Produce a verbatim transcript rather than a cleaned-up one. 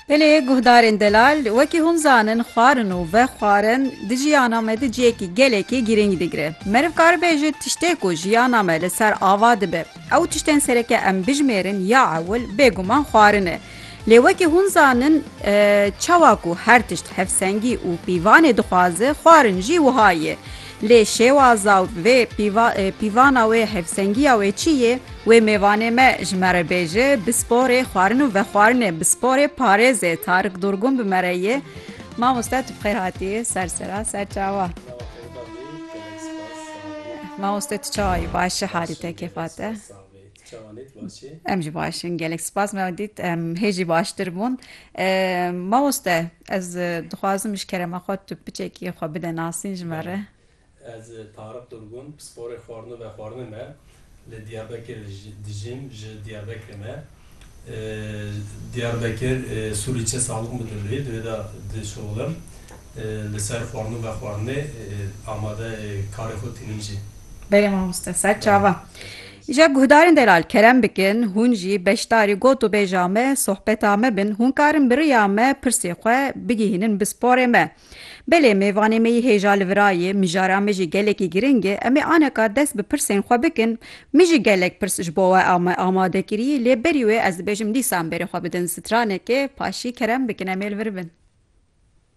Belê guhdarên delal, wekî hûn zanin, xwarin û vexwarin di jiyana me de cihekî gelekî girîng digire. Meriv karibêje tiştê ku jiyana me li ser ava dibe. Ew tiştên sereke em bijmêrin ya ewil bêguman xwarin e. Lê wekî hûn zanin, e, çawa ku her tişt hevsengî û pîvanê dixwaze, xwarin jî wiha ye. Lê şêwaza vê pîva-, e, pîvana wê, hevsengiya wê çi ye? Wê mêvanê me ji me re bêje, bisporê xwarin û vexwarinê, bisporê parêzê Tarık Durgun bi me re ye. Mamoste, tu bi xêr hatî, ser sera, ser çawa. Mamoste, tu çawa yî? Baş î, halî te, kêfa te? Em jî baş in, gelek spas, me dît em hê jî baştir bûn. E, mamoste, ez, e, dixwazim ji kerema xwe tu piçekî xwe bide nasîn ji me re. Ez, e, Tarık Durgun, pisporê xwarin û vexwarinê me. Li Diyarbekir ji-, dijîm, ji Diyarbekirê me. E, Diyarbekir, e, Sûrîçe Sağlık Müdürlüğü, di wê de dişuxulim. E, li ser xwarin û vexwarinê, e, amade, e, karê xwe tînim jî. Belê mamoste, ser çava. Îja guhdarên delal, kerem bikin, hûn jî beşdarî got û bêja me, sohbeta me bin, hûn karin bi riya me pirsê xwe bigihînin bisporê me. Belê, mêvanê me yî hêja li vira ye, mijara me jî gelekî giring e. Em ê aneka dest bi pirsên xwe bikin. Min jî gelek pirs ji bo we ama-, amade kirî, lê berî wê ez dibêjim dîsan berê xwe bidin stranekê, paşî kerem bikin, em ê li vir bin.